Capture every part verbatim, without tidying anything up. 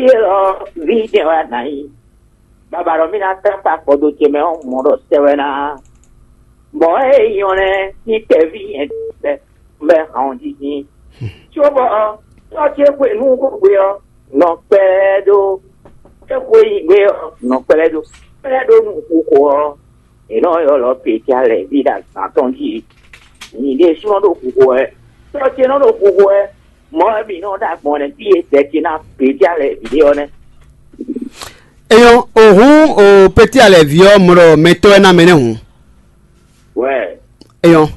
Élɔ́ ví jɛ́n wɛ a nǎ nyí. Baba ɖɔ mì ná tlá kpa kpɔdo ce mɛ ɔ́, mɔ̌ ɖɔ sɛ wɛ ná. Mɔ̌ e nyí ɔ́ nɛ́, ní tɛ́ví nyɛ bɛ́ bɛ́ hǎn ɔ́ jí dín. Cóbɔ ɔ́, tɔ́ ce xwe nú xóxwe ɔ́, nɔ kpɛlɛ́ ɖó. É xwe nyi gbé ɔ́, nɔ kpɛlɛ́ ɖó. Kpɛlɛ́ ɖó nú xixo ɔ́, è nɔ ylɔ́ Petyalɛví ɖo azǎn tɔn jí. Nyɛ ɖésúnɔ ɖo xixo wɛ. Tɔ́ ce nɔ ɖo xixo wɛ. Mɔ̌ wɛ mǐ nɔ ɖo agbɔn nɛ́ fí e dɛ ce ná Petyalɛví ɖe ɔ́ nɛ́. Eyɔn, o hǔn o Petyalɛví ɔ́ mlɔ mɛtɔ́ ɛ ná mɛ nɛ́ hǔn. Wɛ. Eyɔn,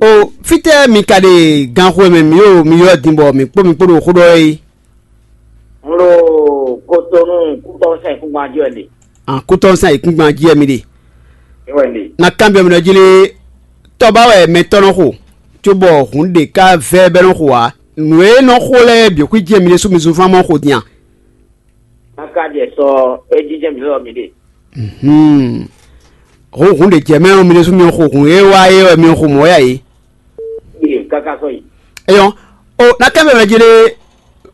o fítɛ́ mi ka ɖe ganxo e mɛ mǐ ɖo mi ylɔ́ din bɔ mǐ kpó mi kpó ɖo xó ɖɔ é? Un ɖo Kotonu kútɔ́ sɛn kúngban jí wɛ ɖe. An kútɔ́ sɛn ayǐkúngban jí wɛ mi ɖe. É wɛ ɖe. Na kanbyɔ́ mi ɖɔ jí lé, tɔ́ ba wɛ mɛtɔ́ nɔ xo, cóbɔ hǔn ɖě ká vɛ́ bɛ́ nɔ xo ǎ. Nǔ e nɔ xo lɛ́ɛ bǐ xwí jɛ́n mi ɖésú mi zunfán mɔ xo din a? Káká jɛ sɔ é jínjɛ́n mǐ lɔ mǐ ɖe. Hǔn hǔn ɖě jɛ mɛ ɔ́, mi ɖésú mi xo hǔn e wá é wɛ mi xo mɔ̌ yá é. Ɖe káká sɔ yi. Eyɔn, o na kɛ mɛ mɛ jí ɖe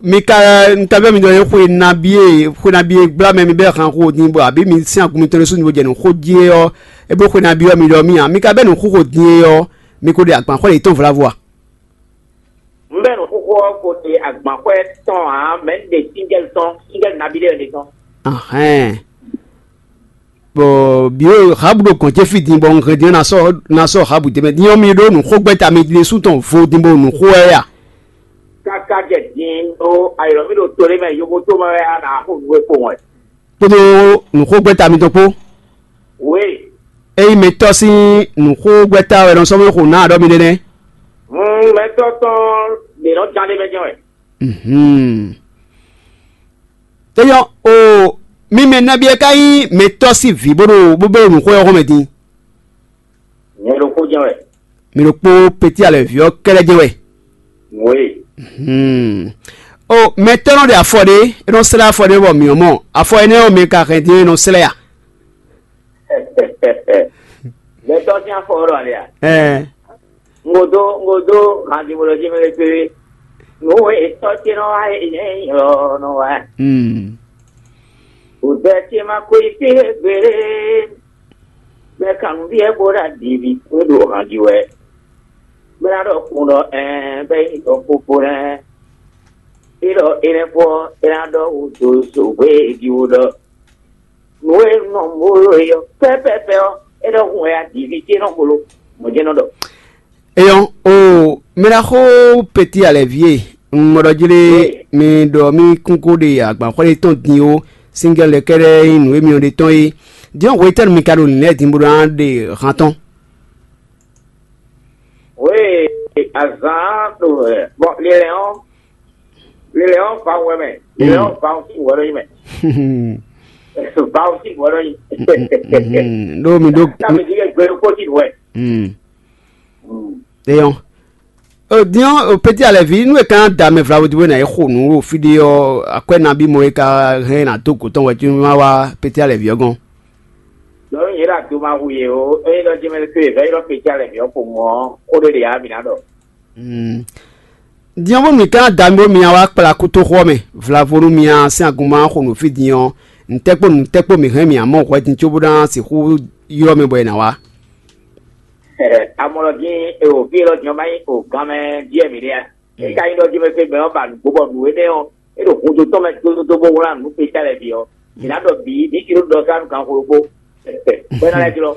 mi ka un ka bɛ mi ɖɔ ye xwe nabi e xwe nabi e gbla mɛ mi bɛ han xo din bɔ abi mi sin agun mitɔn ɖésú ni bo jɛ nǔ xo jí é ɔ́, e bo xwe nabi ɔ́ mi ɖɔ mi a mi ka bɛ nǔ xo xo din é ɔ́, mi ko ɖe agban xɔ yětɔn vlavo a? Un bɛ nǔ xóxó ɔ́ ko ɖe agbanxwɛ tɔn ǎ, mɛ̌ un ɖe síngɛ́l tɔn, síngɛ́l nabí ɖé wɛ ɖe tɔn. Ahɛn. Bɔ biwo habu ɖo gɔn ce fí din bɔ un hɛn din ɔ́ na sɔ́ na sɔ́ habu din mɛ din ɔ́ mi ɖó nǔ xógbɛ́ta mi ɖésú tɔn vo din bɔ nǔ xó wɛ a? Káká jɛ din ɖó ayɔ̌ mì ɖo to ɖé mɛ yovo tó mɛ wɛ a nǎ xo nǔ e kpowun wɛ. Kpódó nǔxógbɛ́ta mitɔn kpó. Wě, ényí mɛtɔ́ sín nǔxógbɛ́ta wɛ nɔ sɔ́ mɛ xo nǎ aɖɔ́ mi ɖé nɛ́. Hun mɛtɔ́ tɔn ɖě nɔ ján ɖé mɛ jɛ́n wɛ. Mhm. Tényɔ o mi mɛ nabí ɛ ka nyí mɛtɔ́ sín vǐ bó ɖo bó bó ɖo nǔxó ɔ́ xɔmɛ din. Nyɛ ɖokpó jɛ́n wɛ. Mi ɖokpó petí alɛ̌ví ɔ́ kɛ́lɛ́ jɛ́n wɛ. Wě. Hmm. O mɛtɔ́ nɔ ɖe afɔ ɖé, é nɔ slɛ́ afɔ ɖé bɔ mǐ ɔ́ mɔ. Afɔ énɛ́ ɔ́ mi ka hɛn din é nɔ slɛ́ a? Mɛtɔ́ sín afɔ ɔ́ ɖo alɛ a? Ɛɛ. Ngodó ngodó handi mo ɖɔ jí mɛ lé kpé. Nǔ e tɔ́ ce nɔ wá é nyɛ nyí ɔ́ nɔ wá. Hmm. Òdɛ ce ma ko yi fí gbeɖé. Mɛ kan nǔ ɖíe bó ɖo aɖǐví kún ɖo han jí wɛ. Bó ná ɖɔ kun ɖɔ ɛɛ bɛ́ nyí ɖɔ kpokpo nɛ́. É ɖɔ énɛ́ fɔ é ná ɖɔ wǔ dó zǒgbé e jí wú ɖɔ. Nǔ e nɔ mó ɖo é ɔ́ pɛ́pɛ́pɛ́ ɔ́, é ɖɔ hun wɛ aɖǐví ce nɔ golo. Mɔ̌ jɛ́n nɔ ɖɔ. Eyɔn o mɛɖaxó peti alɛvi e un mɔ ɖɔ jlé mi ɖɔ mi kún ko ɖe agbanxwɛ ɖé tɔn din ó, singɛl lɛ kɛɖɛ nyí nǔ e mi ɖe tɔn é. Din ɔ́ hwetɛ́nu mi ka ɖo nǐ lɛ́ɛ din bó ná ɖe han tɔn? Oui, azǎn ɖo ɛ bɔ lilɛ ɔ́ lilɛ ɔ́ va wɛ mɛ lilɛ ɔ́ va sí wɛ ɖo yi mɛ. Va sí wɛ ɖo yi. Ɖo mi ɖo. Ká mi di kɛ gbɛ ɖokpó sí wɛ. Eyɔn. Din ɔ́, peti alɛvi nú e ka da mɛ vlavo di bó ná yi xo nǔ ɖo fí ɖé ɔ́, akwɛ́ nabí mɔ e ka hɛn ná dó gǒ tɔn wɛ cí má wá peti alɛvi ɔ́ gɔ́n? Lɔ̌ nyɛ ɖo ado ma hu yě o, ényí ɖɔ jɛmɛ to e vɛ̌ ylɔ́ peti alɛvi ɔ́ xo mɔ̌ ɔ́, xó ɖé ɖe ǎ mǐ ná ɖɔ. Din ɔ́, bónú mǐ ka ná da mi bó mi wá kplá kútóxó ɔ́ mɛ, vlavo nú mi a sín agunmá xo nǔ fí din ɔ́, ntɛ́kpó nǔtɛ́kpó mǐ hɛn mǐ amɔ hwɛ din cóbó ná sixú ylɔ́ mɛ bɔ è nǎ wá. Amɔlɔ dín e o fí élɔ́ din ɔ́ ma nyí o gán mɛ díɛ mǐ ɖe a? É ka nyí ɖɔ dín mɛ fé mɛ ɔ́ ba nǔgbó bɔ nǔ énɛ́ ɔ́ é ɖo hudó tɔn mɛ dódódó bó wlán nǔ pe sɛ́ lɛ́ɛ bǐ ɔ́, mǐ ná ɖɔ bǐ ní ci ɖó ɖɔ ká nú ganxó ɖokpó. Bɔ é ná lɛ́ jlɔ́.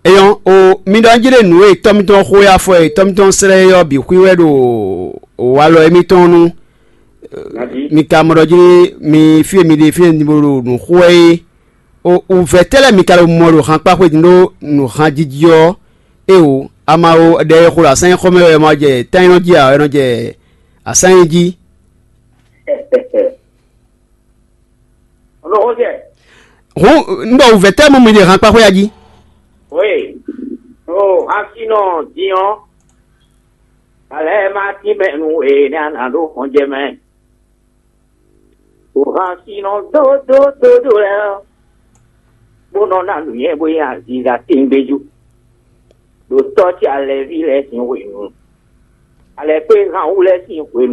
Eyɔn o mi ɖɔ njí ɖe nǔ e tɔ́ mitɔn xó e afɔ e tɔ́ mitɔn slɛ́ é ɔ́ bǐ xwí wɛ ɖo walɔ émítɔn nu. Mi ka mɔ ɖɔ jí mi fí e mi ɖe fí e mi ɖo nǔ xó wɛ é. O wǔvɛ́ tɛ́ lɛ́ɛ mi ka ɖo mɔ ɖo hankpá xwedun ɖó nǔhanjiji ɔ́, é o ama o ɖɛ e xo ɖo asán nyí xɔmɛ wɛ ma jɛ tánnyinɔ jí ǎ wɛ nɔ jɛ asán nyí jí. Hǔn un ɖɔ wǔvɛ́ tɛ́ mɔ mi ɖe hankpá xwé a jí? Oui, o hasinɔ din ɔ́, alɛ ma tín mɛ nú e ní a nǎ ɖó xɔnjɛ mɛ. O hasinɔ dódódódó lɛ́ɛ ɔ́, bó nɔ ná nǔnywɛ́ bó nyí aziza tɛ́ngbéjú. Ɖo tɔ́ ce alɛví lɛ́ɛ sín hwenu, alɛkpé han wú lɛ́ɛ sín hwenu.